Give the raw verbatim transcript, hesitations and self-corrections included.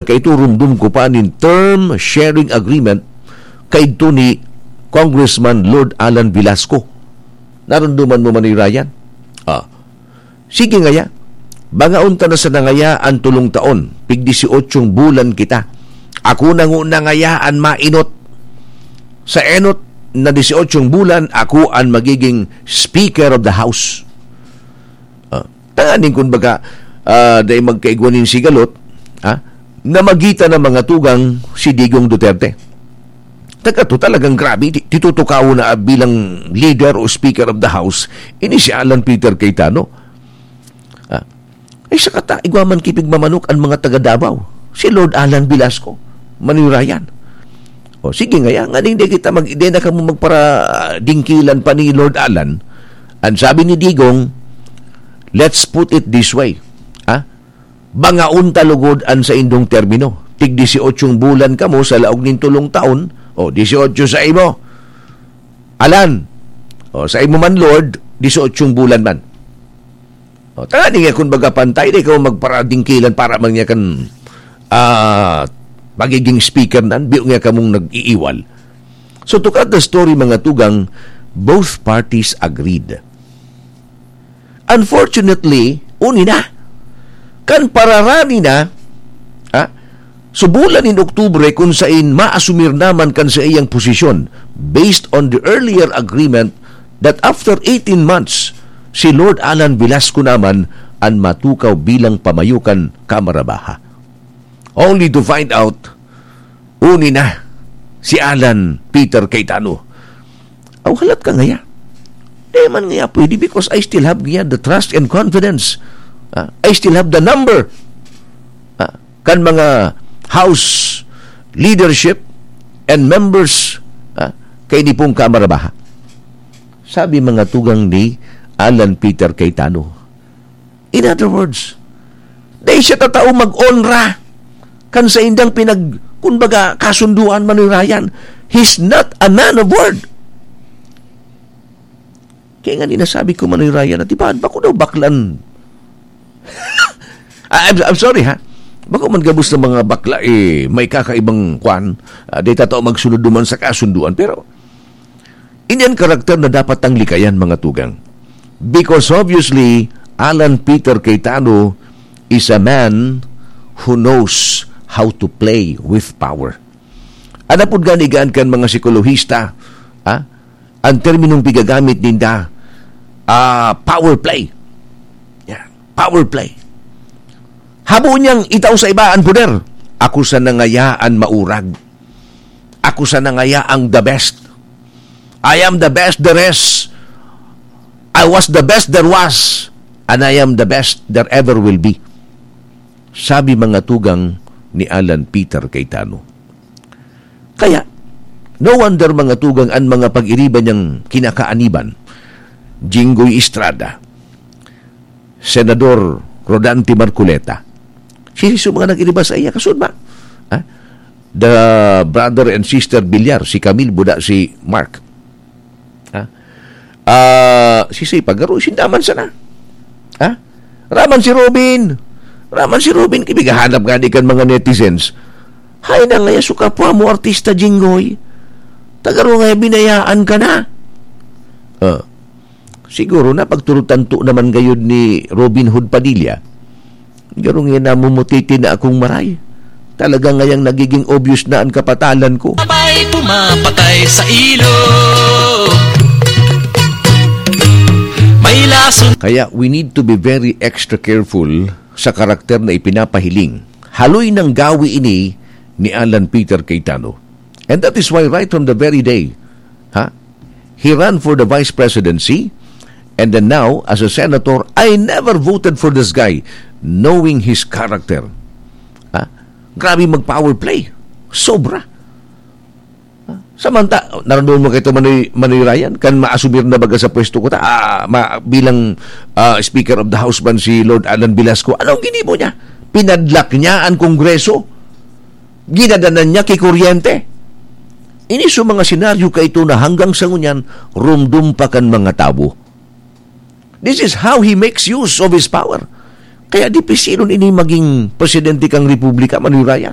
Kaito rumdom ko pa nin term sharing agreement kaidto ni Congressman Lord Alan Velasco. Narumduman mo man ni Ryan? Ah. Sige ngaya. Bangaon ta na sa nangaya an tolong taon. Pig disyotsyong bulan kita. Ako na nguna ngaya an mainot. Sa enot na disyotsyong bulan, ako an magiging Speaker of the House. Ah, tanganing kun baga, ah, dai magkaigwa nin sigalot, ah, na magita na mga tugang si Digong Duterte. Taga to talagang grabe, ti-, titutukaw na bilang leader o speaker of the house, ini si Alan Peter Cayetano. Ah, ay sa kata, igwa man kipig mamanok ang mga taga Davao. Si Lord Alan Velasco, manirayan. O sige ngaya, nga ding di kita mag-, di na kamo magparadingkilan pa ni Lord Alan. Ang sabi ni Digong, "Let's put it this way." Ah? Bangaon ta lugod an saindong termino. Tig disyotsyong bulan kamo sa laog nin tolong taon, o disyotso sa imo. Alan, o sa imo man, Lord, disyotsyong bulan man. O, tanganing kun baga pantay, di ka magparadingkilan para man niya kan, ah, magiging speaker nan, biyo nga kamong nag-iiwal. So, to cut the story, mga tugang, both parties agreed. Unfortunately, uni na. Kan pararani na, ha? So, bulan nin Oktubre, kun sain maasumir naman kan saiyang posisyon, based on the earlier agreement that after eighteen months, si Lord Alan Velasco naman an matukaw bilang pamayo kan Kamara Baha. Only to find out, uni na si Alan Peter Cayetano. Aw, halat ka ngaya. Di man ngaya pwede because I still have ngaya the trust and confidence. Ah, I still have the number, ah, kan mga house leadership and members, ah, kay ni pong Kamara Baha. Sabi mga tugang ni Alan Peter Cayetano. In other words, dai siya tatao mag-onra kan saindang pinag-, kumbaga, kasunduan, manirayan. He's not a man of word. Kaya nga ni nasabi ko, manirayan, at iba, bako daw baklan. Ah, I'm, I'm sorry, ha? Bako man gabos ng mga bakla, eh, may kakaibang kwan. Ah, di tatao magsunod duman sa kasunduan. Pero, ini an karakter na dapat tang likayan, mga tugang. Because obviously, Alan Peter Cayetano is a man who knows how to play with power. An apod gani gaan kan mga psikolohista, ah, ang terminong pigagamit ninda, ah, power play. Yeah, power play. Habo niyang itao sa iba an poder. Ako sa nangayaan maurag. Ako sa nangaya ang the best. I am the best there is. I was the best there was. And I am the best there ever will be. Sabi mga tugang ni Alan Peter Cayetano. Kaya, no wonder mga tugang an mga pag-iriba niyang kinakaaniban. Jinggoy Estrada, Senador Rodante Marcoleta. Siisay so mga nag-iriba sa iya? Kasud ba? Ha? The brother and sister Villar, si Camille, buda si Mark. Ha? Ah, siisay pa? Garo, sinda man sana. Ha? Raman si Robin. Raman si Robin, kibig hahanap nga di kan mga netizens. Hay na ngaya so kapwa mo, artista Jinggoy. Tagaro nga binayaan ka na. Ah. Siguro na pagturutan to naman gayud ni Robin Hood Padilla. Garo nga namumutiti na akong maray. Talaga ngayang nagiging obvious na ang kapatalan ko. Sabay pumapatay sa ilog. May lason. Kaya we need to be very extra careful sa karakter na ipinapahiling. Haloy ng gawi ini ni Alan Peter Cayetano. And that is why right from the very day, ha? He ran for the vice presidency, and then now, as a senator, I never voted for this guy, knowing his character. Ha? Grabe mag-power play. Sobra. Ha? Samanta, naradoon mo kay Manoy, Manoy Ryan, kan maasumir na baga sa pwesto ko ta, ah, ma, bilang, ah, Speaker of the House man si Lord Alan Velasco. Anong ginibo niya? Pinadlak niya ang Kongreso. Ginadanan niya ki kuryente. Ini so mga senaryo kaito na hanggang sa ngunyan, rumdom pa kan mga tawo. This is how he makes use of his power. Kaya dipisilon ini maging presidente kang republika, Manoy Ryan.